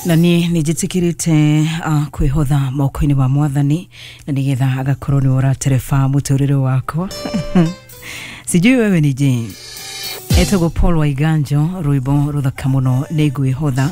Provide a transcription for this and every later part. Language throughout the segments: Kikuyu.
Na niĩ nĩ njĩtĩkĩrĩte kwĩhotha moko-inĩ ma Mwathani na nĩgetha agakorwo nĩwe ũratereba mũtũrĩre wakwa. Sijui wewe ni je. Etagwo Paul Waiganjo, rwĩmbo rũthaka mũno, nĩ ngwĩhotha.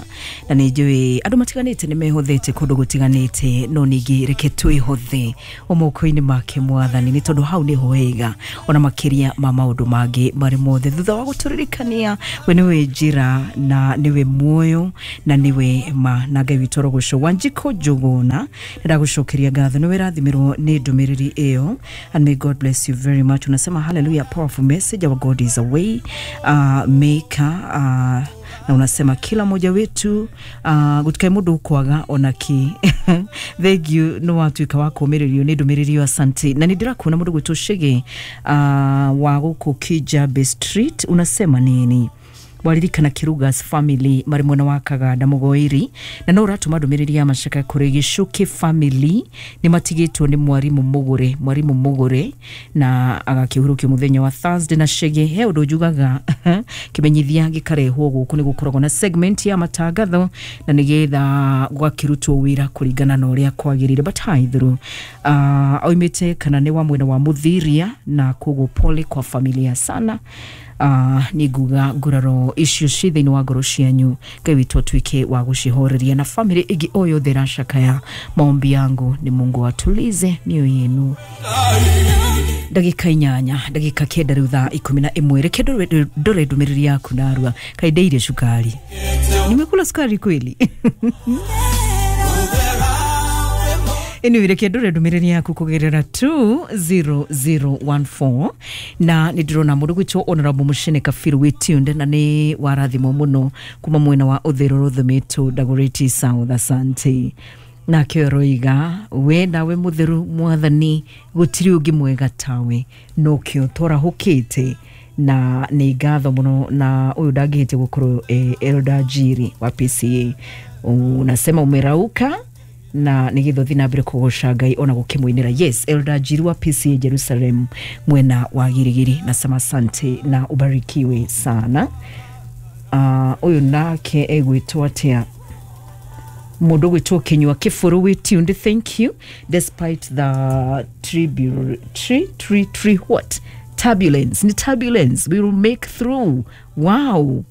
Na nĩ njũĩ andũ matiganĩte nĩ mehothete kũndũ gũtiganĩte, no ningĩ reke twĩhothe o moko-inĩ make Mwathani, nĩ tondũ hau nĩho wega ona makĩria ma maũndũ mangĩ marĩ mothe. Thutha wa gũtũririkania we nĩwe njĩra na nĩwe muoyo na nĩwe ma, na Ngai witũ arogocwo. Wanjikũ Njũgũna, nĩndagũcokeria ngatho, nĩwe rathimirwo nĩ ndũmĩrĩri ĩyo, and may God bless you very much. Unasema, "Hallelujah, powerful message. Our God is a way maker." Na unasema kila mmoja wetu gutikae mundu ukwaga ona ki. Thank you, no watuika wa kũũmĩrĩrio nĩ ndũmĩrĩri ĩyo, asante. Na nĩ ndĩrakuona mũndũ gwĩtwo Shege wa gũkũ Kijabe Street. Unasema nini? Waririkana Kirugas family marĩ mwena wa Kaganda Mũgoiri, na no ũratũma ndũmĩrĩri ya macaka kũrĩ Gĩcuki family, nĩ matigĩtwo nĩ mwarimũ Mũgũre, mwarimũ Mũgũre, na agakĩhurũkio mũthenya wa Thursday. Na Shege, he ũndũ njugaga, kĩmenyithia gĩkarehwo gũkũ nĩ gũkoragwo na segment ya matangatho na nĩgetha gũgakĩrutwo wĩra kũringana na ũrĩa kwagĩrĩire. But hi through oimĩte kana nĩ wa mwena wa Mũthiria, na koguo pole kwa familia sana. Nĩ nguga nguraro icio ci thĩinĩ wa ngoro cianyu, Ngai witũ atuĩke wa gũcihoreria, na family ĩngĩ o yothe ĩracakaya, maombi yangu ni Mungu atulize mioyo yenu. Ndagĩka 8, ndagĩka 9 rĩu thaa 11. Reke ndore ndũmĩrĩri yaku narua. Kaĩ ndeire cukari? Nimekula sukari kweli? Anyway, reke ndore ndũmĩrĩri yaku kũgerera 20014, na nĩ ndĩrona mũndũ gwĩtwo Honorable Mũcene Kabiru wĩ tuned, na nĩ warathimwo mũno kuma mwena wa Ũthĩro Rũthũmĩtũ, Dagoretti South, asante. Nake roiga, "We nawe mũtheru Mwathani, gũtirĩ ũngĩ mwega tawe, nokĩo twarahũkĩte." Na nĩ ngatho mũno, na ũyũ ndangĩhĩtia gũkorwo Elder Njiri wa PCA. Unasema umerauka na nĩgetha ũthiĩ na mbere kũgoca Ngai ona gũkĩmũinĩra. Yes, Elder Njiri wa PCA Jerusalem mwena wa Girigiri, nasema asante na ubarikiwe sana. Ũyũ nake egwĩtwo atĩa? Mũndũ gwĩtwo Kinyua Kĩbũrũ wĩ tuned, thank you. Despite the tribute tree tree tree what turbulence, ni turbulence, we will make through. Wow.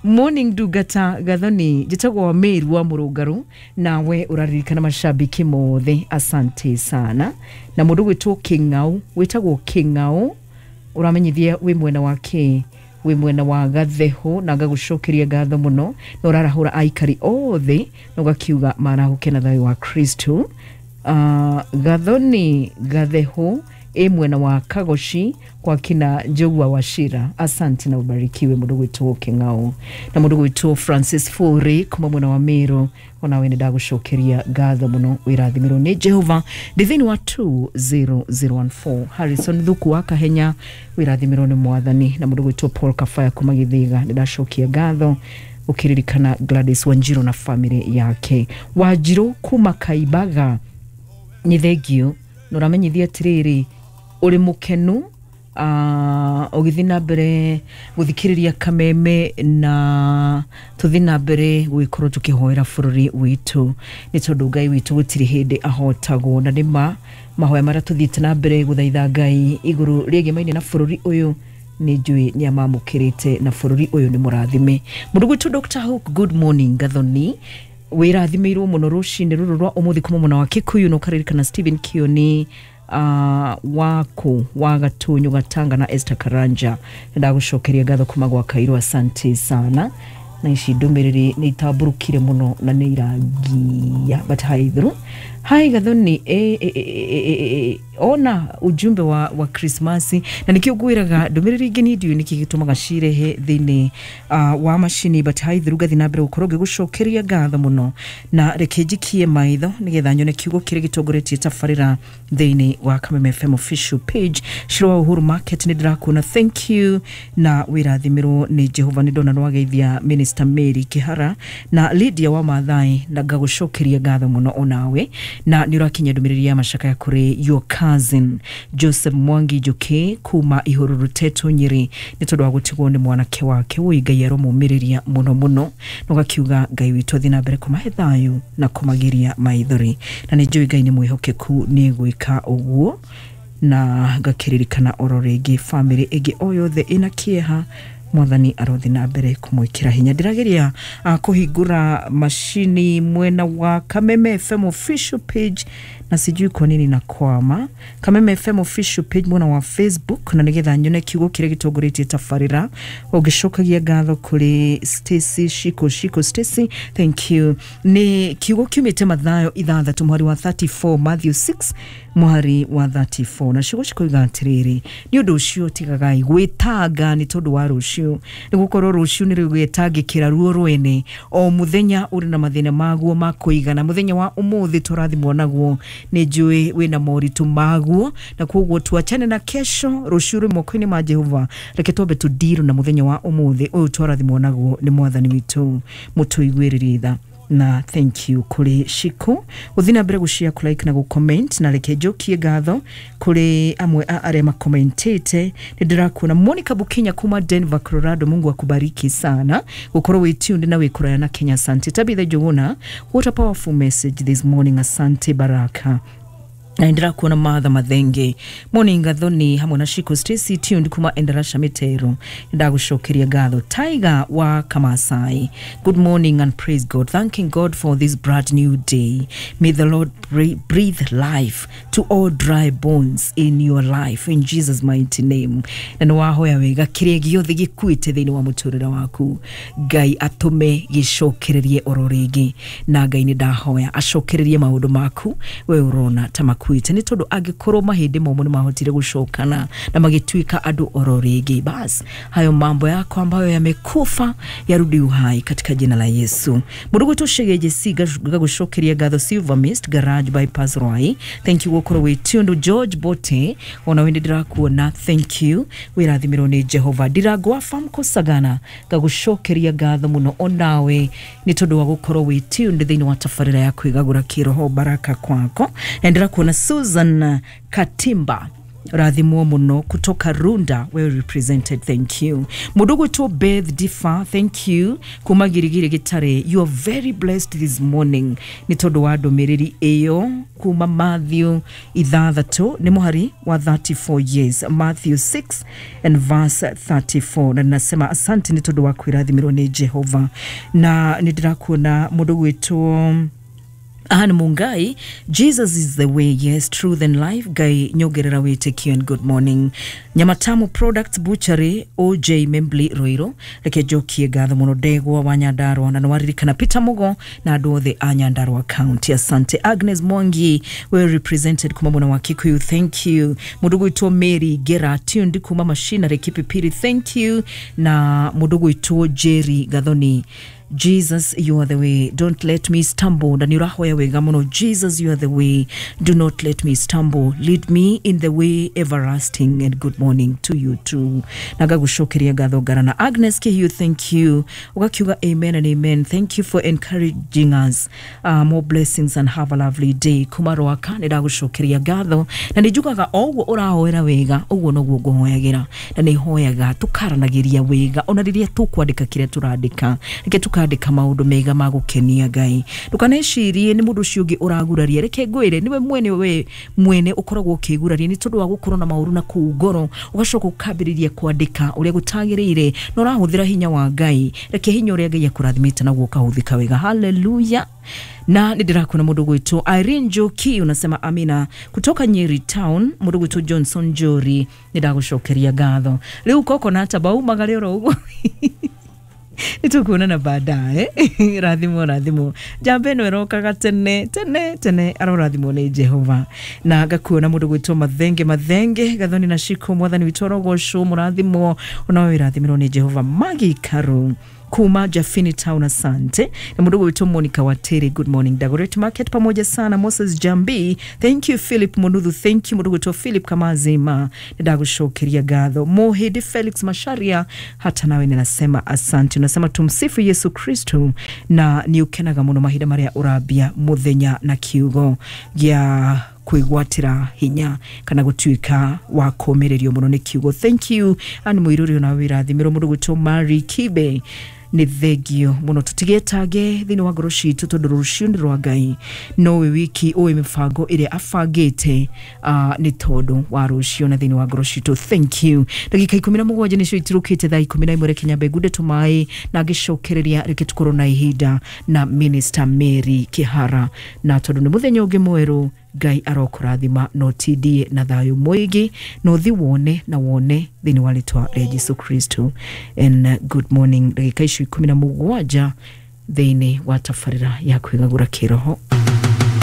Morning, ndungata Gathoni, njĩtagwo wa Mary wa Mũrũngarũ, nawe ũraririkana mashabiki mothe, asante sana. Na mũndũ gwĩtwo Kĩng'au, wĩtagwo Kĩng'au, ũramenyithia wĩ mwena wa kĩ? Wĩ mwena wa Gatheho, na ngagũcokeria ngatho mũno, na ũrarahũra aikari othe na ũgakiuga marahũke na thayũ wa Kristo. Gathoni Gatheho ĩ mwena wa Kagoci kwa kina Njogua wa Shira, asante na ubarikiwe, mũndũ gwĩtwo Kĩng'au. Na mũndũ gwĩtwo Francis Furi kuma mwena wa Meru, onawe nĩ ndagũcokeria ngatho mũno, wĩrathimirwo nĩ Jehova. Ndĩ thĩinĩ wa 20014. Harrison Thuku wa Kahenya, wĩrathimirwo nĩ Mwathani. Na mũndũ gwĩtwo Paul Kafaya kuma Gĩthĩga, nĩ ndacokia ngatho ũkĩririkana Gladys Wanjirũ na family yake. Wanjirũ kuma Kaibaga, nĩ thengio, na ũramenyithia atĩrĩrĩ, ũrĩ mũkenu ũgĩthiĩ na mbere gũthikĩrĩria Kameme, na tũthiĩ na mbere gũgĩkorwo tũkĩhoera bũrũri witũ, nĩ tondũ Ngai witũ gũtirĩ hĩndĩ ahotagwo. Na nĩ ma mahoya marĩa tũthiĩte na mbere gũthaitha Ngai igũrũ rĩegemaine na bũrũri ũyũ, nĩ njũĩ nĩ amamũkĩrĩte na bũrũri ũyũ nĩ mũrathime. Mũndũ gwĩtwo Dr Hook, good morning Gathoni, wĩrathimĩirwo mũno rũcinĩ rũrũ rwa ũmũthĩ kuma mwena wa Kikuyu, na ũkaririkana Stephen Kioni waku wa Gatunyu Gatanga na Esther Karanja. Ndagũcokeria ngatho kuma gwa Kairũ, asante sana. Na ici ndũmĩrĩri nĩ itambũrũkire mũno na nĩ irangia, but hi through. Hi Gathoni, e, ona ujumbe wa Krismasi, na nikio ngwĩraga ndũmĩrĩri ingĩ niĩ ndiũĩ nĩkĩ gĩtũmaga cirehe thĩinĩ wa macini. But hi through, ngathi na mbere gũkorwo ngĩgũcokeria ngatho mũno, na reke njikie maitho nĩgetha nyone kiugo kĩrĩa gĩtongoretie tabarĩra thĩinĩ wa Kameme FM official page. Ciro wa Uhuru Market, nĩ ndĩrakuona, thank you, na wĩrathimĩrwo nĩ Jehova. Nĩ ndona nĩwageithia Minister Mary Kihara na Lydia wa Mathai, na ngagũcokeria ngatho mũno onawe, na nĩ ũrakinyia ndũmĩrĩri ya macakaya kũrĩ your Cousin Joseph Mwangi Njuki kuma Ihururu Tetu Nyeri nĩ tondũ wa gũtigwo nĩ mwanake wake. Wũi Ngai aromũmĩrĩria mũno mũno, na ũgakiuga Ngai witũ athiĩ na mbere kũmahe thayũ na kũmagiria maithori, na nĩ njũĩ Ngai nĩ mwĩhokeku nĩ gwĩka ũguo. Na ngakĩririkana oro rĩngĩ bamĩrĩ ĩngĩ o yothe ĩna kĩeha, Mwathani arothi na mbere kũmwĩkĩra hinya. Ndĩrageria kũhingũra macini mwena wa Kameme FM official page na sijui kwa nini na kwama. Kameme FM official page mwena wa Facebook, na nigetha nyone kiugo kĩrĩa gĩtongoretie tabarĩra. Ũngĩcokagia ngatho kũrĩ Stacy Shiko Shiko. Stacy, thank you. Nĩ kiugo kiumĩte Mathayo 6 mũhari wa 34, Matthew 6 mũhari wa 34, na ciugo cikoiga atĩrĩrĩ: nĩ ũndũ ũcio tigagai gwĩtanga nĩ tondũ wa rũciũ, nĩ gũkorwo rũciũ nĩ rũgwĩtangĩkĩra ruo rwene. O mũthenya ũrĩ na mathĩna maguo ma kũigana. Mũthenya wa ũmũthĩ tũrathimwo naguo, nĩ njũĩ wĩna moritũ maguo, na koguo tuachane na kesho. Rũciũ rwĩ moko-inĩ ma Jehova. Reke twambe tũndiru na mũthenya wa ũmũthĩ ũyũ twarathimwo naguo nĩ Mwathani witũ mũtũiguĩrĩrie tha. Na thank you kũrĩ Shiko gũthiĩ na mbere gũshare, kũlike na gũcomment. Na reke njokie ngatho kũrĩ amwe a arĩa makomentĩte. Nĩ ndĩrakuona Monica Bukinya kuma Denver, Colorado. Mungu akubariki sana gũkorwo wĩ tuned na wĩ kũraya na Kenya. Asante. Tabitha Njuguna, what a powerful message this morning. Asante Baraka. Na ndĩrakuona Martha Mathenge, morning Gathoni hamwe na Shiko. Stacy tuned kuma Endarasha Mitero, ndagũcokeria ngatho. Tiger wa Kamasai, good morning and praise God, thanking God for this brand new day. May the Lord breathe life to all dry bones in your life in Jesus' mighty name. Na nĩ wahoya wega, kĩrĩa gĩothe gĩkuĩte thĩinĩ wa mũtũrĩre waku, Ngai atũme gĩcokererie oro rĩngĩ. Na Ngai nĩ ndahoya acokererie maũndũ maku we ũrona ta makuĩte, nĩ tondũ angĩkorwo mahĩndĩ momũ nĩ mahotire gũcokana na magĩtuĩka andũ oro rĩngĩ, bas hayo mambo yako ambayo yamekufa yarudi uhai katika jina la Yesu. Mũndũ gwĩtwo Shegeje si gagũcokeria ngatho. Silver Mist Garage Bypass Rwai, thank you gũkorwo wĩ tuned. George Bote, ona we nĩ ndĩrakuona, thank you, wĩrathimirwo nĩ Jehova. Ndirangwa Famco Sagana, ngagũcokeria ngatho mũno onawe nĩ tondũ wa gũkorwo wĩ tuned thĩinĩ wa tabarĩra ya kwĩgagũra kĩroho. Baraka kwako. Na ndĩrakuona Susan Katimba, rathimwo muno kutoka Runda, well represented, thank you. Mũndũ gwĩtwo Beth Difa, thank you kuma Girigiri Gĩtare. You are very blessed this morning nĩ tondũ wa ndũmĩrĩri ĩyo kuma Matthew 6 nĩ mũhari wa 34. Yes, Matthew 6 and verse 34. Na ninasema asante nĩ tondũ wa kwĩrathimirwo nĩ Jehova. Na nĩ ndĩrakuona mũndũ gwĩtwo Anne Mungai, Jesus is the way, yes, truth and life. Ngai nyongerera wĩtĩkio and good morning. Nyamatamu Products Butchery, OJ Membly Roiro, reke njokie ngatho mũno Ndegwa wa Nyandarua, na nĩwaririkana Peter Mugo na andũ othe a Nyandarua County. Asante. Agnes Mwangi, well represented kuma mwena wa Kikuyu, thank you. Mũndũ gwĩtwo Mary Gera tuned kuma Machinery Kipipiri, thank you. Na mũndũ gwĩtwo Jerry Gathoni, Jesus, you are the way, don't let me stumble. Na nĩ ũrahoya wega mũno. Jesus, you are the way, do not let me stumble, lead me in the way everlasting, and good morning to you too. Na ngagũcokeria ngatho ngara na Agnes Kihiu, thank you. Ũgakiuga amen and amen, thank you for encouraging us, more blessings and have a lovely day. Kuma Rwaka, nĩ ndagũcokeria ngatho, na nĩ njugaga o ũguo ũrahoera wega ũguo noguo ngũhoyagĩra, na nĩ hoyaga tũkaranagĩria wega ona rĩrĩa tũkwandĩka kĩrĩa tũrandĩka. Reke tũkandĩka maũndũ mega ma gũkenia Ngai. Ndũkanecirie nĩ mũndũ ũcio ũngĩ ũraguraria. Reke ngwĩre, nĩwe mwene, we mwene ũkoragwo ũkĩguraria nĩ tondũ wa gũkorwo na maũru na kũu ngoro, ũgacoka ũkambĩrĩria kwandĩka ũrĩa gũtagĩrĩire na ũrahũthĩra hinya wa Ngai. Reke hinya ũrĩa Ngai akũrathimĩte naguo ũkahũthĩka wega. Haleluya. Na nĩ ndĩrakuona mũndũ gwĩtwo Irene Njoki, unasema amina kutoka Nyeri Town. Mũndũ gwĩtwo Johnson Njori, nĩ ndagũcokeria ngatho. Rĩu koko na tabaumagare oro ũguo, nĩtũkuonana baadaye. Rathimwo, rathimwo. Njamba ĩno ĩrokaga tene tene tene, arorathimwo nĩ Jehova. Na ngakuona mũndũ gwĩtwo Mathenge Mathenge Gathoni na Shiko, Mwathani witũ arogocwo, mũrathimwo onawe, wĩrathimĩrwo nĩ Jehova. Magi Karu kuma Jafini Town, asante. Na mũndũ gwĩtwo Monica Wateri, good morning Dagoretti Market, pamoja sana. Moses Jambi, thank you. Philip Munuthu, thank you. Mũndũ gwĩtwo Philip Kamazima, nĩ ndagũcokeria ngatho. Mohidi Felix Masharia, hata nawe ninasema asante. Unasema tumsifu Yesu Kristo, na nĩ ũkenaga mũno mahinda marĩa ũrambia mũthenya na kiugo gĩa Kwĩgwatĩra hinya kana gũtuĩka wa kũũmĩrĩrio mũno nĩ kiugo. Thank you, ani mũirũrĩ ona wĩrathimĩrwo mũndũ gwĩtwo Mary Kibe, nĩ thengio mũno. Tũtigetange thĩinĩ wa ngoro citũ tondũ rũciũ nĩ rwa Ngai, nowe wiki ũĩ mĩbango ĩrĩa abangĩte nĩ tondũ wa rũciũ na thĩinĩ wa ngoro citũ. Thank you. Ndagĩka 17 nĩcio itirũkĩte thaa 11. Reke nyambe ngunde tũmaĩ na ngĩcokereria reke tũkorwo na ihinda na Minister Mary Kĩhara, na tondũ nĩ mũthenya ũngĩ mwerũ, Ngai arokũrathima na ũtindie na thayũ mũingĩ na ũthi wone na wone thĩinĩ wa rĩtwa rĩa Jesu Kristo. And good morning. Ndagĩka icio 17 thĩinĩ wa tabarĩra ya kwĩgagũra kĩroho.